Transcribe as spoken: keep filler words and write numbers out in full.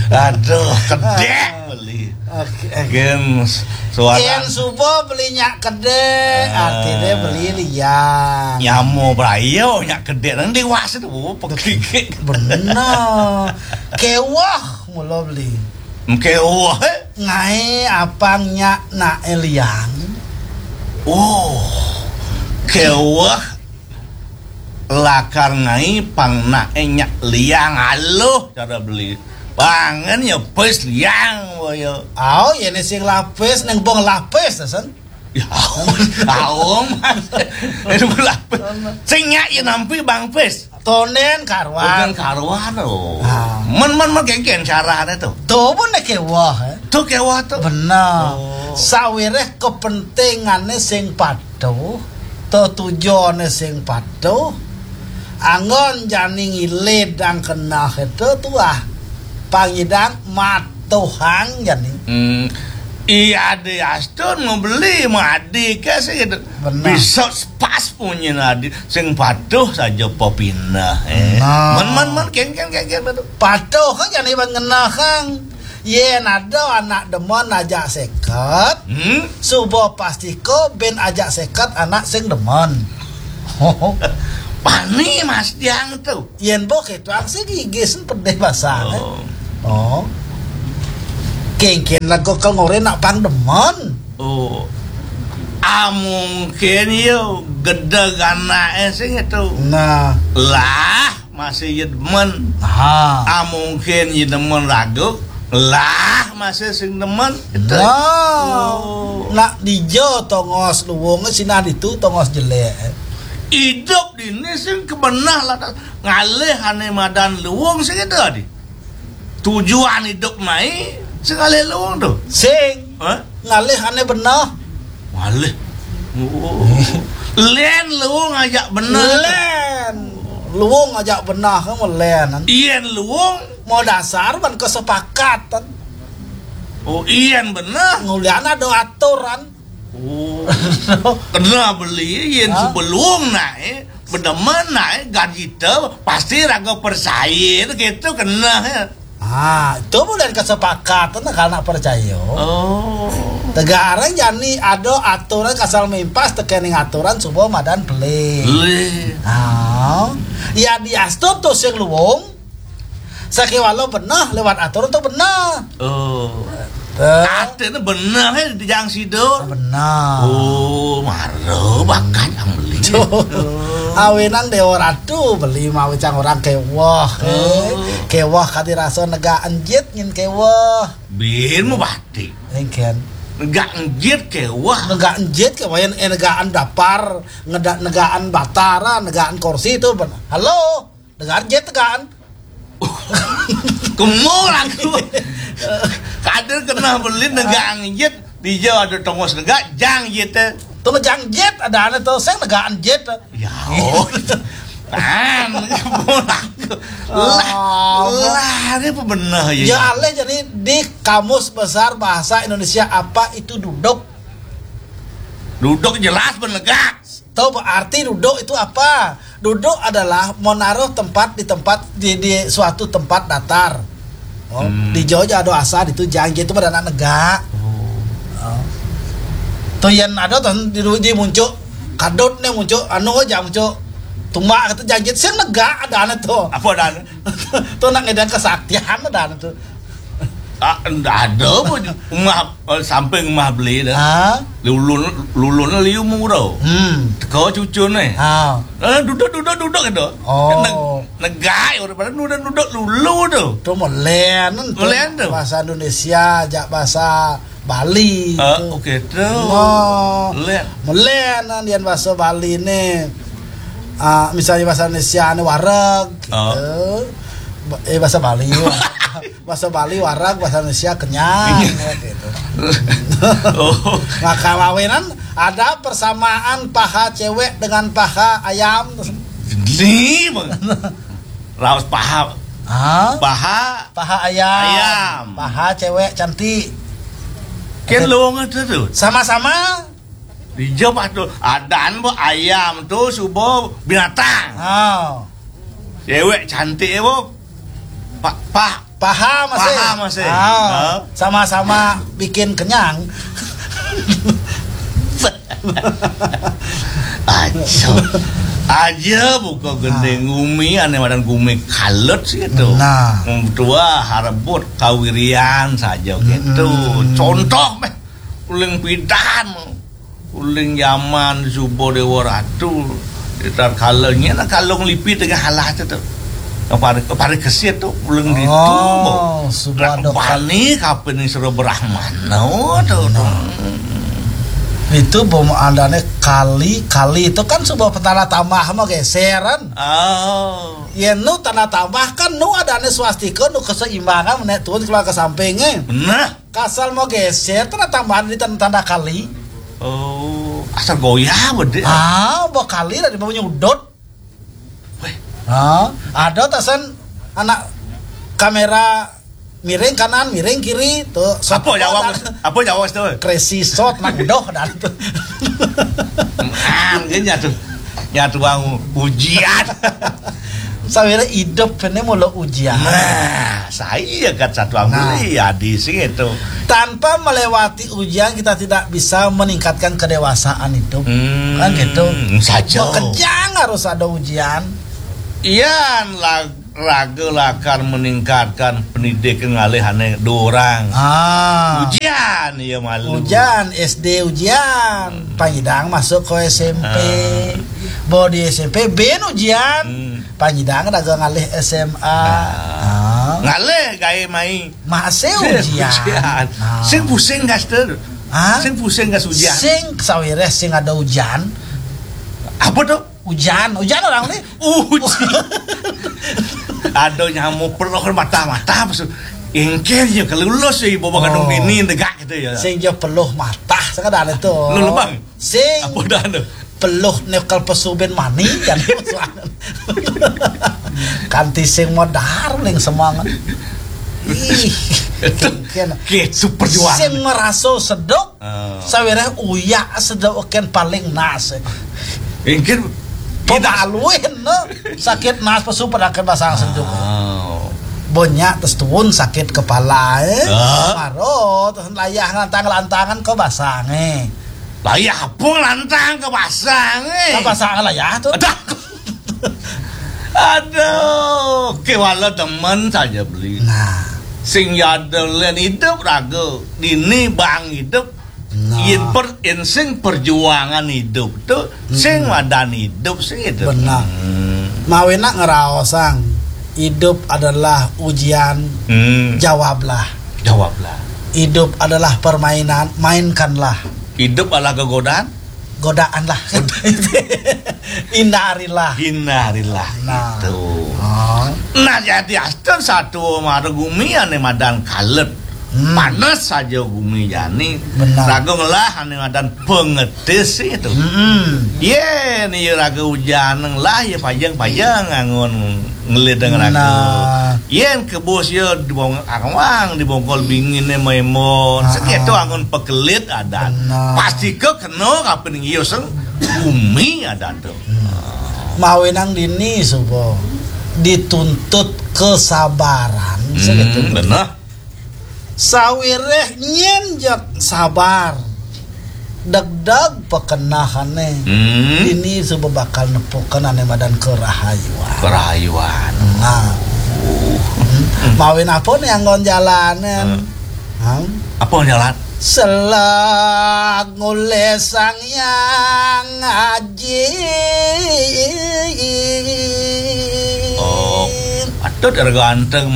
Aduh, kedék beli. Oke. Gén suara. Yén suba beli nyak kedék, artiné beli liang. Nyamo prayo nyak kedék nang déwasa to, oh, pegigik. Bener. Kéweh mula beli. Kéweh, eh? Ngaé apang nyak naké liang. Oh, kéweh lakar ngaé pang naké nyak liang, aluh cara beli. Pangan ya pis liang, waya. Ao, yén sing lapis, neng bong lapis, sen. Ya, aum, aum, Mas. Aduh, lapis. Sing nyak ya nampi bang pis. Tondén karuan. Bukan karuan, oh. Ah. Men, men, men, kénkén carané to. To pun né kéweh, eh. To kéweh to. Bener. Oh. Sawiréh kepentingané sing patuh, tetujoné sing patuh, anggon jani ngilidang keneh to tuah. Pangidang matuhang jani. Hmm. Iya, adi astun mau beli, mau adi ké sih gitu. Bener. Bisa pas punyin adi, sing patuh saja pepineh, eh. Nah. Men, men, men, kénkén, kénkén, kénkén, betul. Patuh kan jani bang ngenehang. Yén ada anak demen ajak séket, hmm? Suba pastika bin ajak séket anak sing demen. Pani Mas Diang to. Yén boh kéto sing gigis pedih basah, eh. Oh. Oh. Kénkén lagu kal ngoré nak pang demen. Oh. Ah, mungkin yo gedeg anaké sing to. Nah. Lah, masih ya demen. Ha. Ah, mungkin ya demen ragu. Lah, masih sing demen. Gitu. Nah. Oh. Nak dija tongos luung, sinah ditu tongos jelék. Idup dini sing kebenah lah, ngalih ané madan luung sing itu adi. Tujuan idup mai sing ngalih luung to. Sing. Hah? Ngalih ané beneh. Ngalih. Oh. Lén luung ajak beneh. Lén. Luung ajak beneh, kamu lén. Yén luung. Mau dasar ban kesepakatan. Oh, yén beneh. Ngulian ada aturan. Oh. Keneh beli, yén sebelum naik, bedemen naik, gaji te, pasti raga percaya, gitu keneh, ya. Ah, itu bukan kesepakatan, kalau nak percaya. Oh. Tegarang jani ada aturan kasal mimpas, tekening aturan suba madan beli. Beli. Ah. Ya diastur tuh sing luung. Sakéwala beneh lewat aturan to beneh. Oh. Artiné beneh, eh, di jang sida. Beneh. Oh, mara bakat ang beli. Awinan Déwa Ratu beli mawi cang orang kéweh, eh. Oh. Kéweh kadi rasa negak enjit ngin kéweh. Bin mu batik. Engken. Negak enjit kéweh. Negak enjit kéweh, yén, eh, negakan dapar, negak, negakan batara, negakan kursi to beneh. Halo. Dengar jet kan? Kemul aku. Kada keneh beli negak jit. Dija ada tongos negak, jang jit. Tuh jang jit ada ané tuh, sing negak jit. Ya, oh. Tan, kemul aku. Lah, lah, ini apa beneh ya? Ya, alih jadi di Kamus Besar Bahasa Indonesia apa itu duduk? Duduk jelas benegak. Tahu arti duduk itu apa? Duduk adalah menaruh tempat di tempat di, di suatu tempat datar. Oh, hmm. Di Jawa ada asa itu jang jit itu pada anak negak. Oh. Oh. Tuh yén ada tuh di, di muncuk kadut né muncuk anu aja muncuk tumbak itu jang jit sing negak ada ané tuh. Apa ada ané? Tuh nak ngedang kesaktian ada ané tuh. Ah, ndak ada pun. Umah, eh, samping umah beli dah. Ha? Lulun, lulun liu mura. Hmm. Teka cucune. Ha. Eh, duduk, duduk, duduk gitu. Oh. Neg-, negai orang pada duduk, duduk lulu tu. Tu melen tu. Melen tu. Bahasa Indonesia, jak bahasa Bali. Ah, tu. Okey tu. Oh. Melen. Melen, dian bahasa Bali ni. Ah, misalnya bahasa Indonesia ni wareg, gitu. Ah. Ba-, eh, bahasa Bali. Bahasa Bali wareg, bahasa Indonesia kenyang, kenyang. Ya, gitu. Oh. Maka mawinan ada persamaan paha cewek dengan paha ayam. Ni, Bang. Laos paha. Hah? Paha. Paha ayam. Ayam. Paha cewek cantik. Kan lowong ada tu. Sama-sama. Dijawab tu. Adan bu ayam tu subo binatang. Oh. Cewek cantik bu. Pak, pak. Paham masih? Paham masih? Ah, sama-sama bikin kenyang. Aja. Aja buka gending gumi, ane madan gumi kalet sih itu. Nah. Wong tua harebut kawirian saja gitu. Contoh meh, uling pidan. Uling zaman suba Dewa Ratu, tatkala nyén kalung lipi tengah alas tu. Pari, pari kesit tu, uling ditu. Oh, suba ada bani kapin sira Brahmana tu. Nah. Itu bom andane kali, kali itu kan suba petala tambah mah geseran. Oh. Yen nu tanda tambah kan nu adane swastika, nu keseimbangan, nek turun keluar ke sampingnya. Nah. Kasal mau geser, tanda tambahan di tanda, tanda kali. Oh, asal goyah bede. Ah, bakali lah di bawah nyudut. Weh. Ah, ada tasan anak kamera miring kanan, miring kiri, tuh. Apa jawab? Apa jawab tu? Crazy shot nak doh dan tu. Ah, dia nyatu. Nyatu bang ujian. Sawira hidup ini mula ujian. Nah, saya kat satu ambil. Nah. Adi sing itu. Tanpa melewati ujian, kita tidak bisa meningkatkan kedewasaan hidup. Hmm, kan gitu. Saja. Bekerja harus ada ujian. Iya, la-, raga lakar meningkatkan pendidik ngalih ane dua orang. Ah. Ujian, iya malu. Ujian, S D ujian. Hmm. Panyidang masuk ke S M P. Ah. Bawa di S M P, bin ujian. Hmm. Panyidang raga ngalih S M A. Ah. Ah. Ngalih gawe mai. Masih ujian. Ujian. Ah. Sing pusing, Gaster. Ah? Sing pusing gas ujian. Sing sawireh sing ada ujian. Apa tu? Ujian, ujian orang ni. Ujian. Ada nyamuk peluh mata-mata, maksud. Engkel je kelulus, ibu bakadung bini degak gitu ya. Sing je peluh mata, sekadar itu. Lu lebang? Sing. Apa dah tu? Peluh nekal pesubin mani, kan. Kanti sing modar, ling semangat. Ih, itu, engkel. Gitu perjuangan. Sing merasa sedok, ah. Sawireh uyak sedok ken paling nas. Mungkin pemaluin, no. Sakit nas pesu pada ke basang sedok. Oh. Banyak terus turun sakit kepala, eh. Ah. Maro, terus layah lantang-lantangan ke basang, eh. Layah apa lantang ke basang, eh? Ke basang layah tu. Aduh. Aduh, kewala demen saja beli. Nah. Sing yada len hidup raga. Dini bang hidup. Nah. Yen per, yen sing perjuangan hidup tu, sing madan hidup, sing hidup. Benar. Hmm. Mawinan ngraosang, hidup adalah ujian, hmm, jawablah. Jawablah. Hidup adalah permainan, mainkanlah. Hidup adalah kegodaan. Godaan lah. Hindarilah. Hindarilah. Nah. Gitu. Oh. Nah, jadi asten satu mara gumi ane madan kalet. Hmm. Panas saja gumi jani. Benar. Raga ngelah ane madan pengetis itu. Hmm. Yen ya raga ujan ngelah ya pajang-pajang angon ngelideng raga. Nah. Yen kebus ya dibong-, awang dibongkol bingine memon. Ah, seketo ah. Angon pekelit adan. Benar. Pasti ke kena kapan ngius gumi adan tu. Hmm. Mawinan dini suba dituntut kesabaran. Hmm, segitu. Benar. Sawireh nyen jak sabar. Degdeg pekenahane. Hmm. Dini suba bakal nepukan ane madan kerahayuan. Kerahayuan. Nah. Hmm. Mawin apa nih anggon jalanan? Hmm. Hah? Apa jalan? Selag ngulih Sang Hyang Aji. Oh, patut ira ganteng